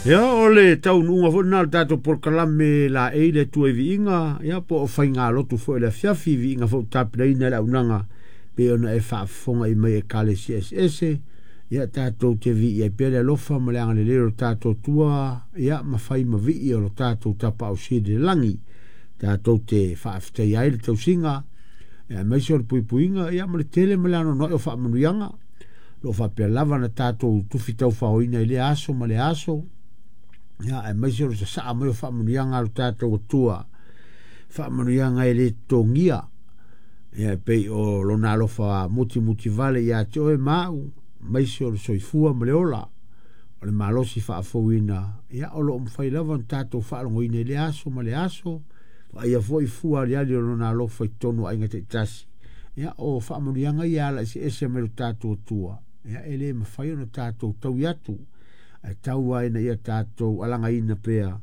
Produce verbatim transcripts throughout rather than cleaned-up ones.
Ia o le taunuuga foi lena o le tatou polokalame laei le Atua i viiga, ia po o faigalotu foi i le afiafi, viiga foi ua tapenaina e le auaunaga pei ona e faafofoga i mai Ekalesia eseese. Ia tatou te viia ai pea le alofa ma le agalelei o le tatou Atua, ia ma fai ma vii o le tatou Tapaau Sili i le lagi. Tatou te faafetaia ai le tausiga, aemaise o le puipuiga, ia ma le tele ma le anoanoai o faamanuiaga. O lo o faapea lava na tatou tufi taufaoina i lea aso ma lea aso, ia aemaise o le sasaa mai o faamanuiaga a lo tatou Atua, faamanuiaga e le totogia, ia e pei o lona alofa mutimutivale ia te oe ma au, aemaise o le soifua ma le ola, o le malosi faafouina, ia o lo o mafai lava ona tatou faalogoina i lea aso ma lea aso, vaaia foi fua aliali o lona alofa i totonu o aiga taitasi. Ia o faamanuiaga ia ala eseese mai lo tatou Atua, ia e le mafai ona tatou taui atu, ae tau lava ina ia tatou alagaina pea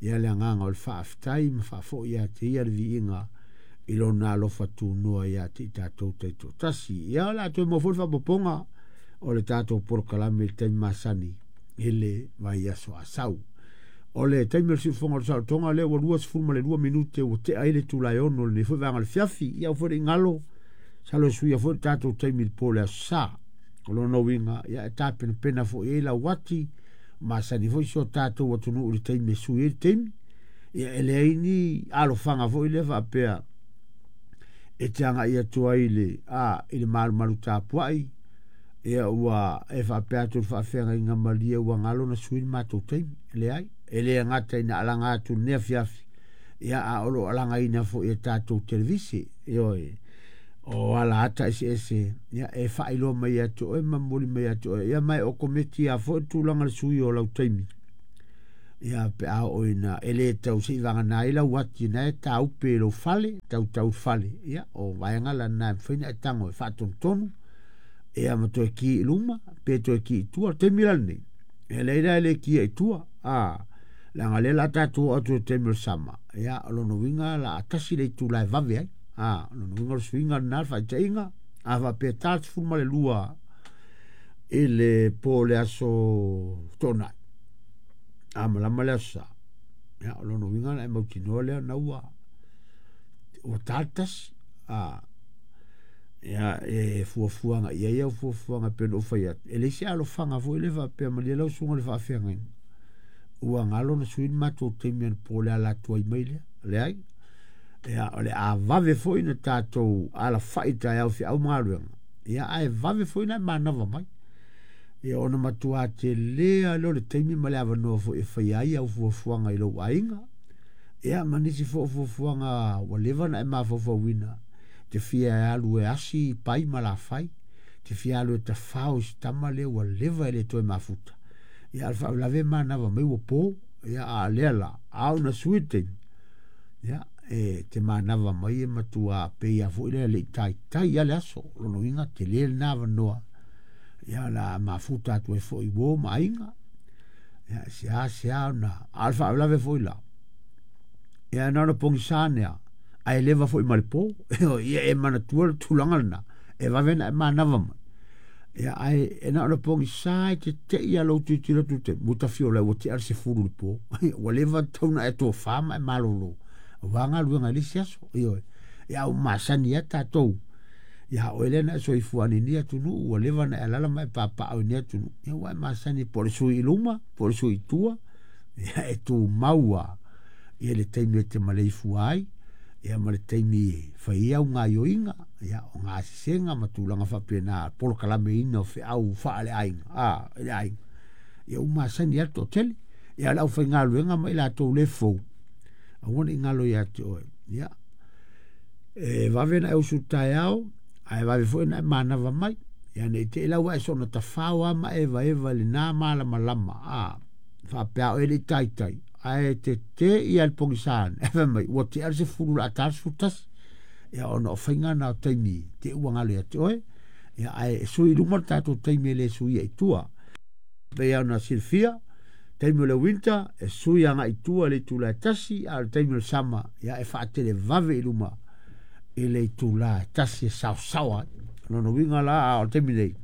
ia le agaga o le faafetai ma faafoi ia te ia le viiga i lona alofa tunoa ia te i tatou taitoatasi. Ia o le a toe maua foi le faaopoopoga o le tatou polokalame i le taimi masani i le vaiaso a sau. O le taimi o le siufofoga o le saolotoga lea ua luasefulu ma le lua minute ua tea ai le itula e ono lenei foi vaega o le fiafi. Ia aua foi ne i galo, masalo e suia foi le tatou taimi i le po o le aso Sa. O lona uiga, ia e tapenapena foi i ai lau ati, masani foi si o tatou atunuu i le taimi e sui ai le taimi. Ia e leai ni alofaga foi lea faapea e te agai atu ai i le, a, i le malumalu tapuai, ia ua e faapea atu i le faafeagaiga malie ua galo na sui le matou taimi. E leai, e le gata ina alaga atu i lenei afiafi, ia a o lo o alagaina foi e tatou televise, ioe, o ala ata eseese, ia e faailoa mai ia te oe ma momoli mai ia te oe, ia ma e okometi lava foi le tulaga le sui o lau taimi. Ia pe a oo ina e le tau se i vagana ai lau ati na e taupe i lou fale, tautau fale, ia o vaega lana e mafai ona e tago e faatonutonu, ia ma toe ki i luma, pe toe ki i tua. O le taimi la lenei, e leai la e le kia i tua, a, leaga o lea o le a tatou oo atu i le taimi o le sama, ia o lona uiga la a tasi le itula e vave ai. A, o lona uiga o le suiga lena le faataitaiga, a faapea ta sefulu ma le lua i le po o le aso Toonai, a malama le aso Sa, ia o lona uiga na e mautinoa lea na ua ua ta le tasi. A, ia e fuafuaga i ai au fuafuaga pei ona ou fai atu, e leai se alofaga foi lea faapea malie lau susuga i le faafeagaiga, ua galo na sui le matou taimi anapo o le ala atu ai mai lea. Leai, ia o le a vave foi na tatou alafai i taeao feau ma galuega, ia ae vave foi na e manava mai. Ia ona matua tele lava lea o le taimi ma le avanoa foi e faia ai au fuafuaga i lou aiga, ia ma nisi foi o fuafuaga ua leva ona e mafaufauina, te fia alu e asi pai ma lafai, te fia alu e tafao i si tama lea ua leva e le toe mafuta. Ia a o le faalavelave e manava mai ua po, ia a o lea la, a oo ina sui le taimi, ia e te manava mai e matua pei lava foi lea e le i taitai lava le aso. O lona uiga tele lena avanoa, ia o le a mafuta atu ai foi i uo ma aiga, ia seasea ona, a o le faalavelave foi la, ia na ona pogisa ane lava, ae leva foi ma le po. Ia e manatua le tulaga lena, e vave ona e manava mai. Ia ae e na ona pogisa e tetei lava lou tilotilo atu i le taimi, ua tafiola ua tea le sefulu i le po. Ua leva tatau ona e tofa ma e malolo, aua galuega i le isi aso. Ioe, ia a ua masani lava tatou, ia oe lea na e soifua ane i lenei atunuu, ua leva ona e alaala ma e papaaao i lenei atunuu, ia ua e masani po o le sui i luma, po o le sui i tua, ia e tumau lava ia le taimi e te maleifua ai, ia ma le taimi e fai ai au gaioiga, ia o gasesega ma tulaga faapena, polokalameina o feau faaleaiga, a, i le aiga, ia ua masani lava le toatele. Ia o le aufaigaluega ma i latou le fou, aua ne i galo ia te oe, ia e vave ona e usu i le taeao, ae vave foi ona e manava mai. Ia ne i te i la ua e soona tafao lava ma e evaeva i lena malamalama, a, faapea oe e le i taitai, ae tetee ia le pogisa ane, ae fai mai, ua tea le sefulu o le a ta le sefulu tasi. Ia ona o faiga na o taimi te ua galo ia te oe, ia ae e sui i luma le tatou taimi e le suia i tua. Pei ona silafia, taimi o le winter e sui agai i tua i le itula e tasi, a o le taimi o le sama, ia e faatelevave i luma i le itula e tasi e saosaoa ai. O lona uiga la, a o le taimi nei,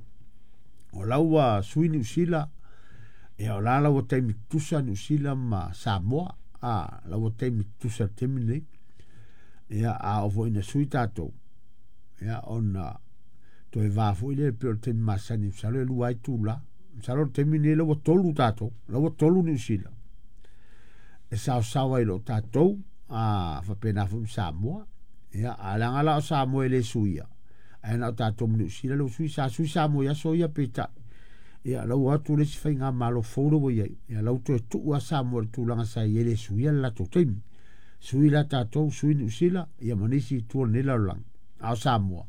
o la ua sui Niu Sila, Ia o la la ua taimi tutusa Niu Sila ma Samoa, a la ua taimi tutusa i le taimi lenei. Ia a oo foi ina sui tatou, ia ona toe va foi lea pei o le taimi masani, masalo e lua ai itula. Masalo o le taimi lenei la ua tolu tatou, la ua tolu Niu Sila e saosao ai i lo tatou, a faapena foi ma Samoa. Ia a leaga la o Samoa e le suia, ae na o tatou ma Niu Sila la ua sui. Sa sui Samoa i aso ia, peitai ia la ua atu le isi faigamalo fou la ua i ai, ia la ua toe tuu lava Samoa i le tulaga sa i ai, e le suia le latou taimi. Sui la tatou, sui Niu Sila ia ma nisi i tua o lenei lalolagi, a o Samoa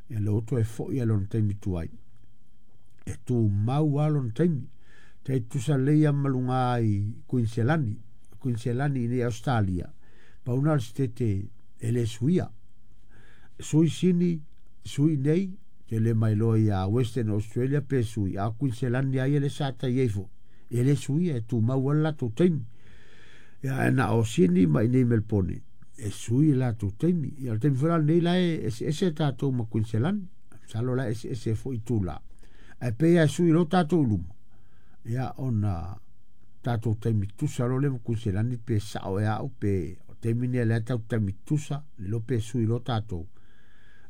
ia la ua toe foi lava i lona taimi tuai, e tumau lava lona taimi. Tai tutusa lelei lava ma luga i Kuiniselani, Kuiniselani i inei i Ausetalia, pau lena o le sitete e le suia. Sui Sini, sui nei, te le mailoa ia Western Australia pe sui, a o Kuiniselani lava ia lea sa tai ai foi, e le suia, e tumau lava le latou taimi. Ia ae na o Sini ma i inei i Melpone e sui le latou taimi. Ia o le taimi foi la lenei la e eseese tatou ma Kuiniselani, masalo la e eseese foi itula, ae pei lava e sui loa tatou i luma, ia ona tatou taimi tutusa loa lea ma Kuiniselani, pe sao ea au pe o le taimi lenei o lea tatou te taimi tutusa, le iloa pe sui loa tatou,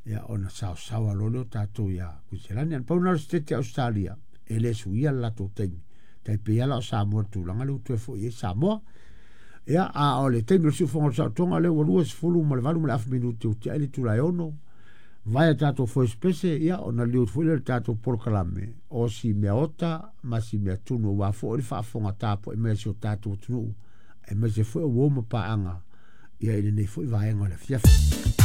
ia ona saosaoa loa lea o tatou ia Kuiniselani. Ae na pau lena o le sitete a Ausetalia e le suia le latou taimi, tai pei lava la o Samoa i le tulaga lea ua toe foi i ai Samoa. Ia, a o le taimi o le siufofoga o le saotoga lea ua luasefulu ma le valu ma le afa minute ua tiai le itula e ono, vae a tatou foespese, ia ona liliu atu foi lea i le tatou polokalame o si mea ota ma si mea tunu, aua foi le faafofoga tapuai mai a si o tatou atunuu, aemaise foi o uo ma paaga ia i lenei foi vaega o le afiafi.